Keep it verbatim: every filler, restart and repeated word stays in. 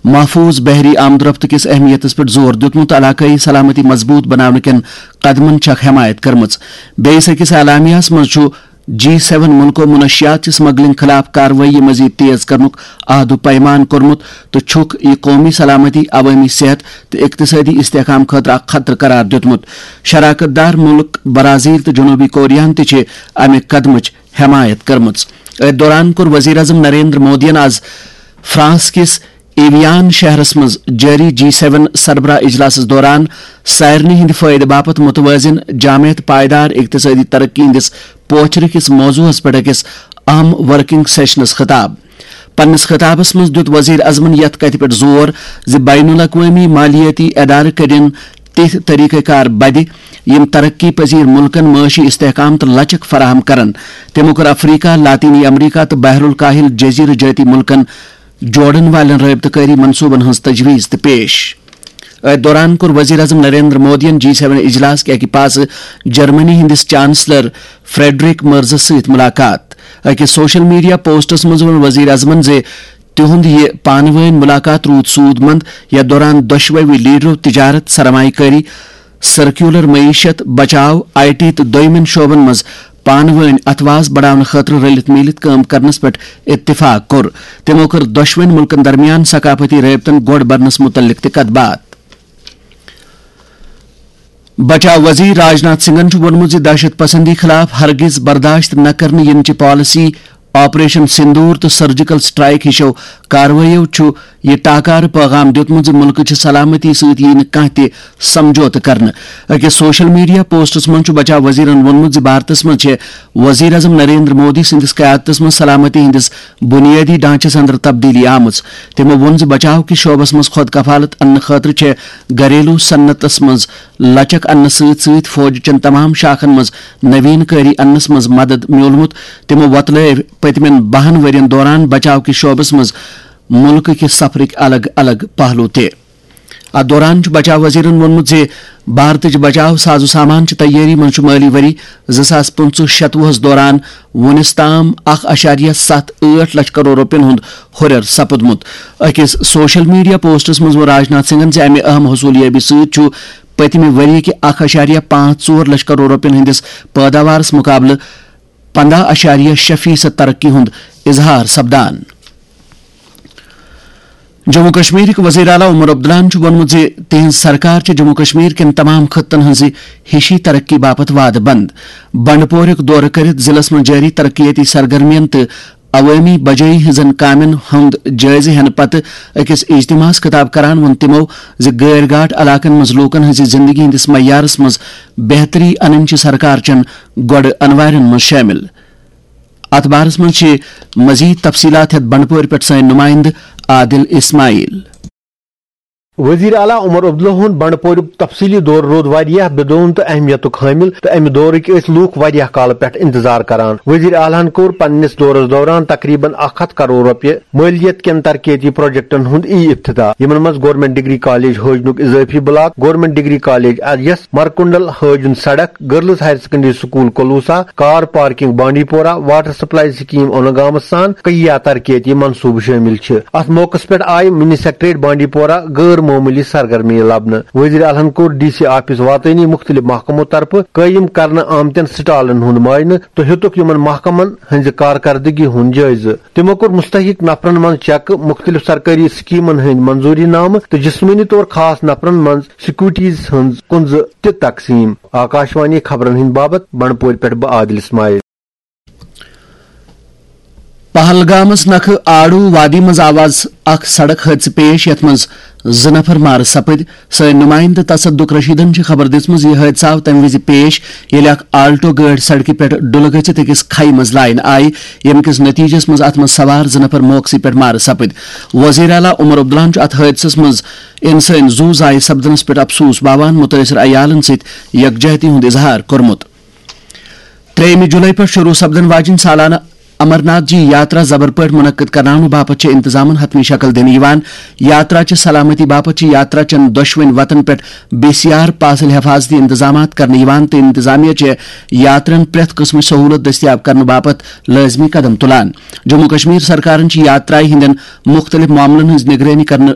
محفوظ بحری آمدرفت کِس اہمیتَس پٮ۪ٹھ زور دیُتمُت تہٕ علاقٲیی سلامتی مضبوٗط بناونہٕ کٮ۪ن قدمن چھکھ حمایت کٔرمٕژ۔ بیٚیِس أکِس اعلامیہَس منٛز چھُ جی سیون مُلکو منشیات چہِ سمگلنگ خلاف کاروٲیی مزید تیز کرنُک عہد و پیمان کوٚرمُت تہٕ چھُکھ یہِ قومی سلامتی، عوٲمی صحت تہٕ اقتصٲدی استحکام خٲطرٕ اکھ خطرٕ قرار دیُتمُت۔ شراکت دار مُلک برازیل تہٕ جنوبی کوریاہَن تہِ چھِ امہِ قدمٕچ حمایت کٔرمٕژ۔ أتھۍ دوران کوٚر وزیر اعظم نریندر مودیَن آز فرانس کِس ایویان شہرس منٛز جٲری جی سیون سربراہ اجلاسس دوران سارنٕے ہٕنٛدِ فٲیدٕ باپتھ متوازن، جامع تہٕ پائیدار اقتصٲدی ترقی ہٕنٛدِس پوچھرٕ کِس موضوعس پٮ۪ٹھ أکِس اہم ورکنگ سیشنس خطاب۔ پننِس خطابس منٛز دیُت وزیر اعظمن یتھ کتھِ پٮ۪ٹھ زور زِ بین الاقوٲمی مالیٲتی ادارٕ کٔرِن تِتھۍ طریقہ کار بدِ، یِم ترقی پذیر ملکن معاشی استحکام تہٕ لچک فراہم کرن۔ تِمو کٔر افریقہ، لاطینی امریکہ تہٕ بحر الکاہل جزیرٕ جٲتی ملکن جوڑن والٮ۪ن رٲبطہٕ کٲری منصوبن ہٕنٛز تجویز تہِ پیش۔ أتھۍ دوران کوٚر وزیر اعظم نریندر مودیَن جی سیون اجلاس کہِ اکہِ پاسہٕ جرمنی ہٕنٛدِس چانسلر فریڈرک مرزس سۭتۍ ملاقات۔ أکِس سوشل میڈیا پوسٹس منٛز ووٚن وزیر اعظمن زِ تِہُنٛد یہِ پانہٕ وٲنۍ ملاقات روٗد سوٗد مند، یَتھ دوران دۄشوٕے لیڈرو تجارت، سرمایہ کٲری، سرکیولر معیشت، بچاو، آئی ٹی تہٕ دویمٮ۪ن شعبن منٛز پانہٕ وٲنۍ اتھواس بڑاونہٕ خٲطرٕ رٔلِتھ میٖلِتھ کٲم کرنس پٮ۪ٹھ اتفاق کوٚر۔ تِمو کٔر دۄشوٕنۍ مُلکن درمیان ثقافتی رٲبطن گۄڈ برنس مُتعلق تہِ کتھ باتھ۔ بچاو وزیر راجناتھ سنگھن چھُ ووٚنمُت زِ دہشت پسندی خلاف ہرگز برداشت نہ کرنہٕ یِنہٕ چہِ پالیسی، آپریشن سندور تہٕ سرجیکل سٹرائیک ہِشو کاروٲیو چھُ یہِ ٹاکارٕ پیغام دیُتمُت زِ مُلکہٕ چھِ سلامتی سۭتۍ یِیہِ نہٕ کانٛہہ تہِ سمجھوتہٕ کرنہٕ۔ أکِس سوشل میڈیا پوسٹس منٛز چھُ بچاو وزیرن ووٚنمُت زِ بھارتس منٛز چھِ وزیر اعظم نریندر مودی سٕنٛدِس قیادتس منٛز سلامتی ہٕنٛدِس بُنیٲدی ڈھانچس اندر تبدیلی آمٕژ۔ تِمو ووٚن زِ بچاو کِس شعبس منٛز خود کفالت اننہٕ خٲطرٕ چھےٚ گھریلو صنعتس منٛز لچک اننہٕ سۭتۍ سۭتۍ فوج چٮ۪ن تمام شاخن منٛز نوین کٲری اننس منٛز مدد میولمُت۔ تِمو وۄتلٲوۍ پٔتمٮ۪ن بَہَن ؤرین دوران بچاو کِس شعبس منٛز مُلکہٕ کہِ سفرٕکۍ الگ الگ پہلو تہِ۔ اتھ دوران چھُ بچاو وزیرن ووٚنمُت زِ بھارتٕچ بچاو ساز و سامان چہِ تیٲری منٛز چھُ مٲلی ؤری زٕ ساس پٕنٛژٕہ شتوُہس دوران وُنِس تام اکھ اَشاریہ ستھ ٲٹھ لچھ کرور رۄپین ہُنٛد ہُرٮ۪ر سپُدمُت۔ أکِس سوشل میڈیا پوسٹس منٛز ووٚن راجناتھ سنگھن زِ امہِ اہم حصولیابی سۭتۍ چھُ پٔتمہِ ؤری کہِ اکھ اَشاریہ پانٛژھ ژور لچھ کرور رۄپین ہٕنٛدِس پٲداوارس مُقابلہٕ پنداہ اَشاریہ شےٚ فیصد ترقی ہُنٛد اظہار سپدان۔ جموں کشمیرٕکۍ وزیر اعلیٰ عمر عبداللہَن چھُ ووٚنمُت زِ تِہنٛز سرکار چھِ جموں کشمیر کٮ۪ن تمام خطن ہٕنٛزِ ہِشی ترقی باپتھ وعدٕ بنٛد۔ بنڈپورُک دورٕ کٔرِتھ ضلعس منٛز جٲری ترقیٲتی سرگرمیَن تہٕ عوٲمی بجٲیی ہٕنٛزن کامٮ۪ن ہُنٛد جٲیزٕ ہٮ۪نہٕ پتہٕ أکِس اجتماعس خطاب کران ووٚن تِمو زِ غٲر گاٹھ علاقن منٛز لوٗکن ہٕنٛزِ زندگی ہٕنٛدِس معیارس منٛز بہتری انٕنۍ چھِ سرکار چٮ۪ن گۄڈٕ انوارٮ۪ن منٛز شٲمِل۔ اتھ بارس منٛز چھِ مزید تفصیلات ہٮ۪تھ بنڈپورِ پٮ۪ٹھ سٲنۍ نمائندٕ عادل اسماعیل۔ وزیر اعلیٰ عمر عبداللہ ہُنٛد بنڈپوریُک تفصیلی دورٕ روٗد واریاہ بِدون تہٕ اہمیتُک حٲمِل، تہٕ امہِ دورٕکۍ ٲسۍ لوٗکھ واریاہ کالہٕ پٮ۪ٹھ انتظار کران۔ وزیر اعلیٰ ہن کوٚر پننِس دورس دوران تقریباً اکھ ہتھ کرور رۄپیہِ مٲلیت کٮ۪ن ترقیتی پروجیکٹن ہُنٛد ای افتتاح، یِمن منٛز گورنمنٹ ڈگری کالج ہٲجنُک اضٲفی block, government degree college S مرکنڈل ہٲجُن سڑک، girls higher secondary school Kalusa, car parking Bandipora, water supply scheme اونگامس سان کئی ترقیتی منصوبہٕ شٲمِل چھِ۔ اتھ موقعس پٮ۪ٹھ آیہِ منی سیکریٹریٹ بانڈی پورہ غٲر معموٗلی سرگرمی لبنہٕ۔ وزیر اعلیٰ ہن کوٚر ڈی سی آفس واتٲنی مُختٔلِف محکمو طرفہٕ قٲیِم کرنہٕ آمتٮ۪ن سٹالن ہُنٛد معائنہٕ تہٕ ہیوٚتُکھ یِمن محکمن ہٕنٛزِ کارکردگی ہُنٛد جٲیزٕ۔ تِمو کوٚر مستحق نفرن منٛز چیکہٕ، مُختٔلِف سرکٲری سکیمن ہٕنٛدۍ منظوٗری نامہٕ تہٕ جسمٲنی طور خاص نفرن منٛز سکوٹیز ہٕنٛز کُنزٕ تہِ تقسیٖم۔ آکاشوانی خبرن ہٕنٛدۍ باپتھ بنڈپورِ پٮ۪ٹھ بہٕ عادل اسماعیل۔ پہلگامس نکھٕ آڑو وادی منٛز آو آز اکھ سڑک حٲدثہٕ پیش، یتھ منٛز زٕ نفر مارٕ سپٕدۍ۔ سٲنۍ نمائندٕ تصدق رشیدن چھِ خبر دِژمٕژ، یہِ حٲدثہٕ آو تَمہِ وِزِ پیش، ییٚلہِ اکھ آلٹو گٲڑۍ سڑکہِ پٮ۪ٹھ ڈُلہٕ گٔژھِتھ أکِس کھایہِ منٛز لاینہٕ آیہِ، ییٚمہِ کِس نتیجس منٛز اتھ منٛز سوار زٕ نفر موقعسٕے پٮ۪ٹھ مارٕ سپٕدۍ۔ وزیر اعلیٰ عمر عبداللہن چھُ اتھ حٲدثس منٛز انسٲنی زُو ضایع سپدنس پٮ۪ٹھ افسوس باوان مُتٲثر عیالن سۭتۍ یکجہتی ہُنٛد اظہار کوٚرمُت۔ ترٛیٚیِمہِ جُلای پٮ۪ٹھ شروٗع سپدن واجٮ۪ن سالانہٕ امرناتھ جی یاترا زبر پٲٹھۍ منعقد کرناونہٕ باپتھ چھِ انتظامن حتمی شکل دِنہٕ یِوان۔ یاترا چہِ سلامتی باپتھ چھِ یاترا چٮ۪ن دۄشوٕنۍ وتن پٮ۪ٹھ بی سی آر پاسل حفاظتی انتظامات کرنہٕ یِوان تہٕ انتظامیہ چھِ یاترین پرٛٮ۪تھ قٕسمٕچ سہوٗلت دٔستیاب کرنہٕ باپتھ لٲزمی قدم تُلان۔ جموں کشمیر سرکارن چھِ یاترایہِ ہٕنٛدٮ۪ن مُختٔلِف معاملن ہٕنٛز نگرٲنی کرنہٕ